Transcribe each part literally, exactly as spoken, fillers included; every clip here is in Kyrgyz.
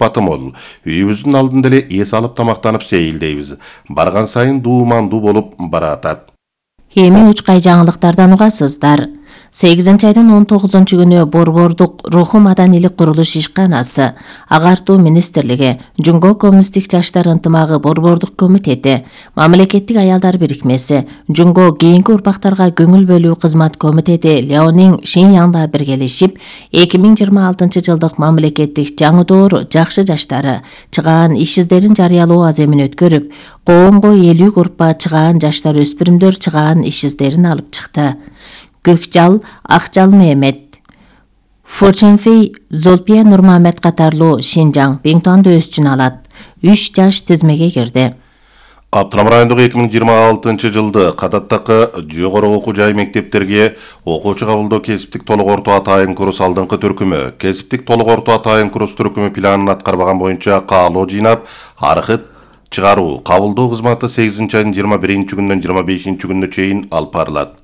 Батымол. Үйүбүздүн алдында эле эс алып тамактанып сейилдейбиз. Барган сайын дуумандуу болуп баратат. Эми учкай жаңылыктардан угасыздар. сегизинчи айдын он тогузунчу күнү Борбордук руху маданийлик курулуш ишканасы, Агартуу министрлиги, Жунго коммунисттик жаштар ынтымагы Борбордук комитети, Мамлекеттик аялдар бирикмеси, Жунго кийинки урпактарга көңүл бөлүү кызмат комитети Леонин Шиньяңда биргелешип, эки миң жыйырма алтынчы жылдык мамлекеттик жаңы жакшы жаштары чыгаан иш издерин жарыялоо аземин өткөрүп, коомго элүү группа чыгаан жаштар өспүрүмдөр чыгаан иш издерин алып чыкты. Көкжал, Акжал Мehmet, Фоченфей, Золпия Нурмамет катарлуу Шинжаң Биңтуанды өз үчүн алат. үч жаш тизмеге кирди. Абдрам райондогу эки миң жыйырма алтынчы жылды кадаттагы жогору окуу жай мектептерге окуучу кабылдоо кесиптик толук орто атайын курс алдыңкы түркүмү, кесиптик толук орто атайын курс түркүмү планын аткарбаган боюнча каалоо жыйнап, архив чыгаруу, кабылдоо кызматы сегизинчи айдын жыйырма биринчи күнүнөн жыйырма бешинчи күнүнө чейин алып барылат.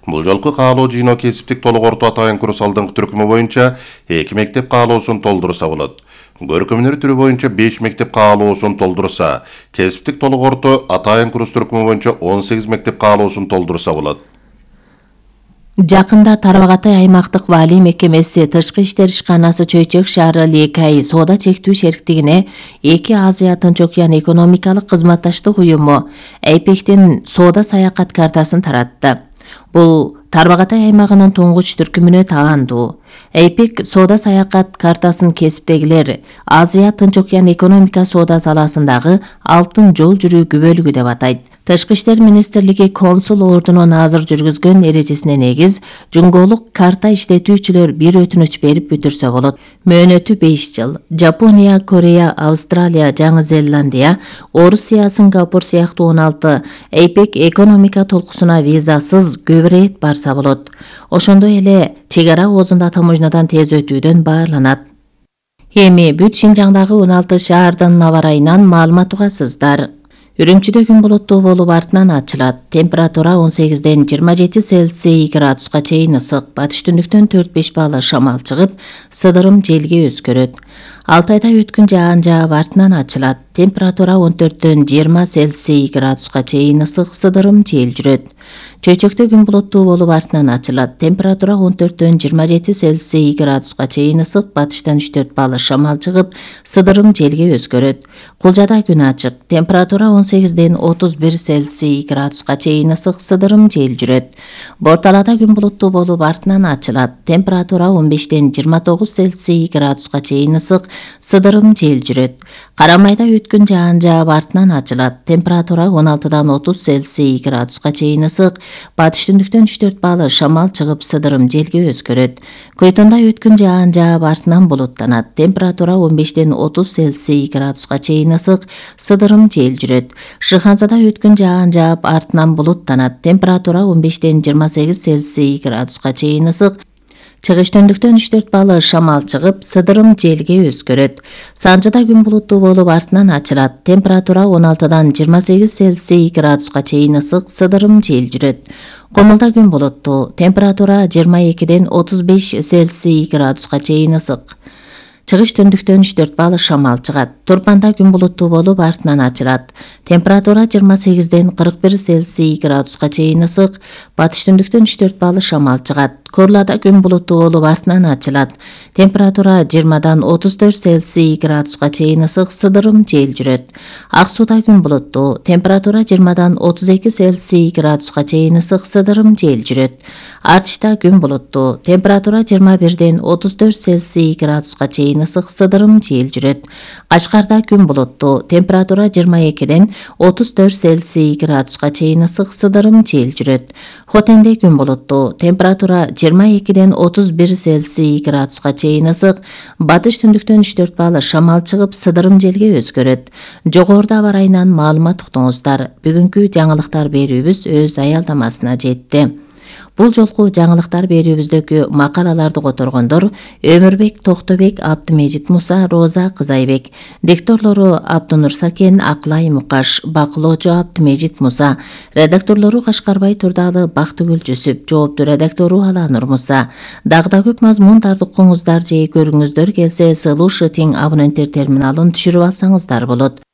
Бул жолку каалоо жыйноо кесиптик толук орто атайын курс алдыңкы түркүмү боюнча эки мектеп каалоосун толтурса болот. Көркөмдөр түрү боюнча беш мектеп каалоосун толтурса, кесиптик толук орто атайын курс түркүмү боюнча он сегиз мектеп каалоосун толтурса болот. Жакында Тарбагатай аймактык ваалий мекемеси Тышкы иштер ишканасы Чөйчөк шаары Лекай соода чектүү шериктигине эки Азия Тынч океан экономикалык кызматташтык уюму Эйпектин соода саякат картасын таратты. Бул Тарбагатай аймагынын туңгуч түркүмүнө таандуу. Эйпек соода саякат картасын кесиптегилер Азия Тынч океан экономика соода саласындагы алтын жол жүрүүгү бөлүгү деп атайт. Тышкы иштер министрлиги консул ордунун азыр жүргүзгөн эрежесине негиз жунголук карта иштетүүчүлөр бир өтүнүч берип бүтүрсө болот. Мөөнөтү беш жыл. Жапония, Корея, Австралия, Жаңы Зеландия, Орусия, Сингапур сыяктуу он алты Эйпек экономика толкусуна визасыз көп ирет барса болот. Ошондой эле чек ара оозунда таможнядан тез өтүүдөн баарланат. Эми бүт Шинжаңдагы он алты шаардын аба ырайынан маалымат угасыздар. Үрүмчүдө күн булуттуу болуп артынан ачылат. Температура он сегизден жыйырма жети Цельсий градуска чейин ысык. Батыш түндүктөн төрт беш балл шамал чыгып, сыдырым желге өзгөрөт. Алтайда өткүн жаан жаап артынан ачылат. Температура он төрттөн жыйырма Цельсий градуска чейин ысык, сыдырым жел жүрөт. Чөйчөктө күн булуттуу болуп артынан ачылат. Температура он төрттөн жыйырма жети Цельсий градуска чейин ысык, батыштан үч төрт балл шамал чыгып, сыдырым желге өзгөрөт. Кулжада күн ачык. Температура он сегизден отуз бир Цельсий градуска чейин ысык, сыдырым жел жүрөт. Борталада күн булуттуу болуп артынан ачылат. Температура он бештен жыйырма тогуз Цельсий градуска чейин ысык, сыдырым жел жүрөт. Карамайда өткүн жаан жаап артынан ачылат. Температура он алтыдан отуз Цельсий градуска чейин ысык, батыш түндүктөн үч төрт балл шамал чыгып, сыдырым желге өзгөрөт. Көйтөндө өткүн жаан жаап артынан булуттанат. Температура он бештен отуз Цельсий градуска чейин ысык, сыдырым жел жүрөт. Шыханзада өткүн жаан жаап артынан булуттанат. Температура он бештен жыйырма сегиз Цельсий градуска чейин ысык, чыгыш түндүктөн үч төрт балл шамал чыгып, сыдырым желге өзгөрөт. Санжыда күн булуттуу болуп артынан ачылат. Температура он алтыдан жыйырма сегиз Цельсий градуска чейин ысык, сыдырым жел жүрөт. Комулда күн булуттуу. Температура жыйырма экиден отуз беш Цельсий градуска чейин ысык. Чыгыш түндүктөн үч төрт балл шамал чыгат. Турпанда күн булуттуу болуп артынан ачылат. Температура жыйырма сегизден кырк бир Цельсий градуска чейин ысык, батыш түндүктөн үч төрт балл шамал чыгат. Корлада күн булуттуу болуп артынан ачылат. Температура жыйырмадан отуз төрт Цельсий градуска чейин ысык, сыдырым жел жүрөт. Ак сууда күн булуттуу. Температура жыйырмадан отуз эки Цельсий градуска чейин ысык, сыдырым жел жүрөт. Артышта күн булуттуу. Температура жыйырма бирден отуз төрт Цельсий градуска чейин ысык, сыдырым жел жүрөт. Кашкарда күн булуттуу. Температура жыйырма экиден отуз төрт Цельсий градуска чейин ысык, сыдырым жел жүрөт. Хотенде күн булуттуу. Температура жыйырма экиден отуз бир Цельсий градуска чейин ысык, батыш түндүктөн үч төрт балл шамал чыгып, сыдырым желге өзгөрөт. Жогоруда аба ырайынан маалымат уктуңуздар. Бүгүнкү жаңылыктар берүүбүз өз аялдамасына жетти. Бул жолку жаңылыктар берүүбүздөгү макалаларды которгондор Өмүрбек Токтобек, Абдымежит Муса, Роза Кызайбек. Дикторлору Абдынур Сакен, Аклай Мукаш, бакылоочу Абдымежит Муса, редакторлору Кашкарбай Турдалы, Бактыгүл Жүсүп, жоопту редактору Аланур Муса. Дагы да көп мазмундарды укуңуздар же көрүңүздөр келсе, Solution абоненттер терминалын түшүрүп алсаңыздар болот.